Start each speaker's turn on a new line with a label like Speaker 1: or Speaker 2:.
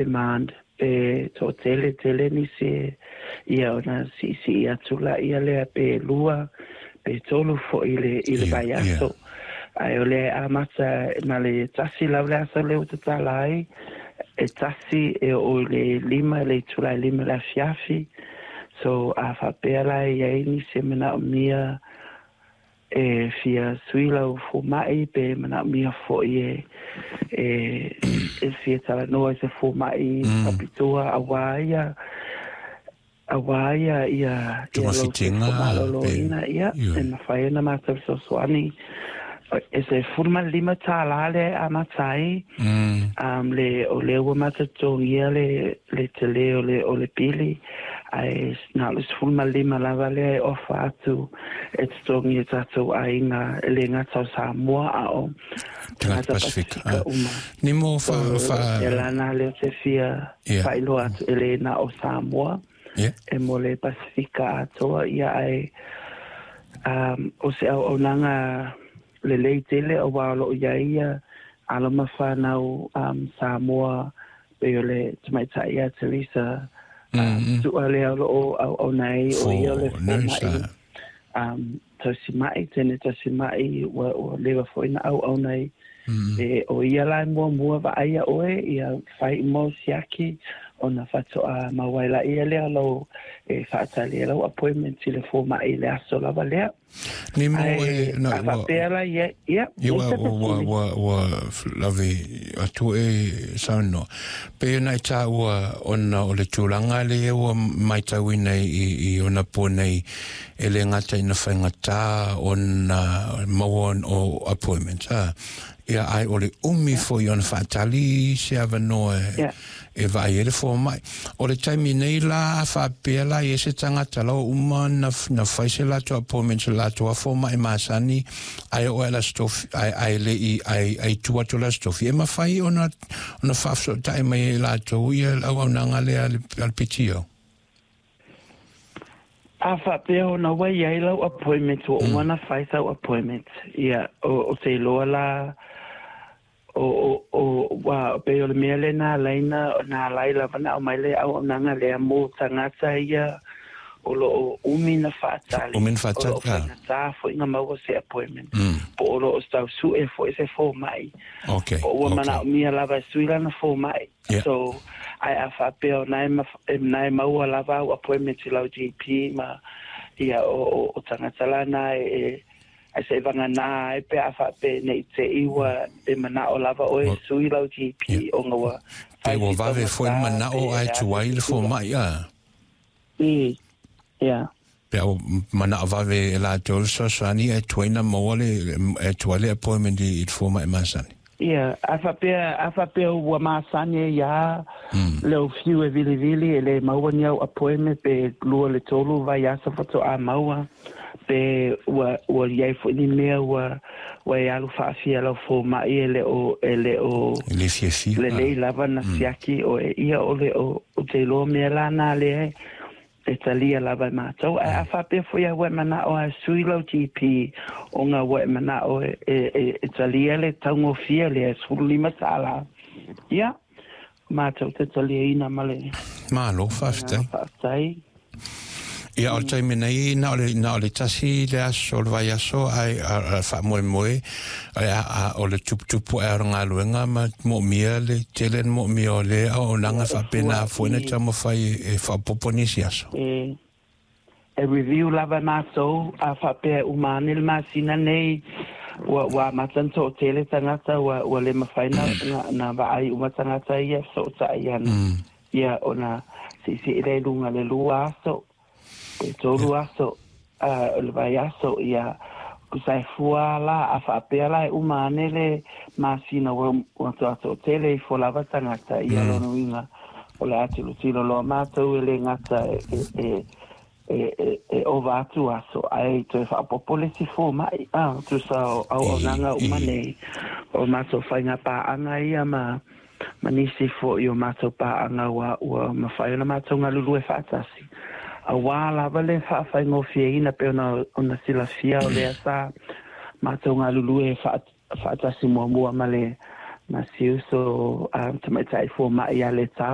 Speaker 1: Demand pe toʻatele tele nisi ia ona siʻisiʻi atu laia lea pe lua pe tolu foʻi i le i le vaiaso. Ae o lea e amata ma le tasi lava le aso lea ua tatala ai, e tasi e oo i le lima i le itula e lima i le afiafi. So a faapea la e i ai nisi e manaomia e fia sui lau fomai pe manaomia foi e e e fia talanoa i se fomai faapitoa auā ia auā ia ia ia lou soifua malōlōina, ia, e mafai ona mātou fesoasoani. E $15 lea e amata ai, le o lea ua mātou totogia le le telē o le o le pili, ae na o le 15 lava lea e ofa atu e totogi e tātou aiga, e le gata o Samoa a o tagata Pasifika uma.
Speaker 2: Ni mo
Speaker 1: fa fa E lana lea te fia faailoa atu e le na o Samoa e mo le Pasifika atoa ia ae o se auaunaga lelei tele auā o loo iai ia alo ma fanau Samoa pei o le tamaitai ia Teresa Tu'a lea o loo auauna ai o ia o le fomai tausima'i teine tausima'i ua leva foi na auauna ai e o ia la e muamua vaaia oe ia fai uma o siaki ona faatoa maua ai laia lea o lou e faatali ai lau appointment i le fomai i le aso lava lea.
Speaker 2: Ni mo e
Speaker 1: na ua faapea la ia ia
Speaker 2: ua ua ua ua lave atu e saunoa pei ona e taua ona o le tulaga lea ua matauina i ona po nei e le gata ina faigata ona maua o appointment a ia ae o le umi foi ona faatali se avanoa e vaai ai le fomai. O le taimi nei la a faapea la i ai se tagata la ua uma na na fai se latou appointment se latou lava fomai masani ae oo ai le Aso Tofi ae ae le i ae ae i tua atu o le Aso Tofi e mafai ona ona faafesootai mai ai e latou ia le auaunaga lea a le a le PTO?
Speaker 1: A faapea ona ua i ai lau appointment ua uma ona fai sau appointment ia o te iloa la O, o, o, ua, pei o le mea lea na ala ai na, na ala ai lava na aumai le auaunaga lea mo tagata ia o lo o umi na faatali,
Speaker 2: Umi na faatali,
Speaker 1: o lo o
Speaker 2: ah.
Speaker 1: faigata foi na maua se appointment, po o lo o tau sue foi se fomai,
Speaker 2: Okay,
Speaker 1: po ua
Speaker 2: okay.
Speaker 1: manaomia lava e sui lana fomai.
Speaker 2: Yeah.
Speaker 1: So, ae a faapea o na e, e, na e maua lava au appointment i lau GP ma ia o, o, o tagata la na e, e Ae se i vagana ai pe a faapea ne i te i ua e manao lava oe e sui lau GP ona ua
Speaker 2: Pe
Speaker 1: fai
Speaker 2: ua
Speaker 1: si
Speaker 2: vave foi le
Speaker 1: taugata
Speaker 2: manao
Speaker 1: pe
Speaker 2: ae
Speaker 1: a se
Speaker 2: tuai le
Speaker 1: tulaga.
Speaker 2: fomai a.
Speaker 1: I, ia.
Speaker 2: Pe a ua manao vave e latou le fesoasoani ae tuai na maua le, ae tuai le appointment i le fomai masani.
Speaker 1: Ia, a faapea, a faapea ua masani ai iā lou fiu e vilivili e le maua ni au appointment pe lua le tolu vaiaso faatoa maua, pe ua, ua i ai foi ni mea ua, ua e alu faafia lau fomai e le o, e le o
Speaker 2: E le fiafia.
Speaker 1: lelei lava na siaki oe, ia o le o, ou te iloa mea la na lea e, E talia lava e mātou. Ae a faapea foi au e manao a e sui lau GP ona ua e manao e, e, e, e talia le taugofie lea e $15, ia, mātou te taliaina ma le
Speaker 2: Malo,
Speaker 1: agaga
Speaker 2: faafetai.
Speaker 1: faafetai.
Speaker 2: Ia, o le taimi nei, na o le, na o le tasi le aso o le vaiaso, ae a, a faamoemoe, a, a, o le tuputupu ae o le galuega ma moomia le tele na moomia o le auaunaga
Speaker 1: Ia, e
Speaker 2: faapena
Speaker 1: fua
Speaker 2: foi na
Speaker 1: i.
Speaker 2: taumafai e faaopoopo nisi aso.
Speaker 1: E, e review lava e mātou, a faapea e uma ane le masina nei, ua, ua amata ona toatele tagata, ua, ua le mafai na, na, na vaai uma tagata ia e fesootai ana. Ia, ona siisii lea i luga le lua aso, pe tolu aso, a, o le vaiaso, ia, tusa e fua la, a faapea la e uma ane le masina ua, ua toa toatele ifo lava tagata, ia, lona uiga, o le a tilotilo loa mātou e le gata e, e, e, e, e, e ova atu aso, ae toe faaopoopo le isi fomai, a, tusa o auaunaga uma nei, o mātou faiga paaga ia ma, ma nisi foi o mātou paaga ua, ua mafai ona mātou galulue faatasi. Auā lava le faafaigofieina pei ona, ona silafia o lea sa mātou galulue faatasi muamua ma le Ma si uso tamaitai fomaʻi ia Letava.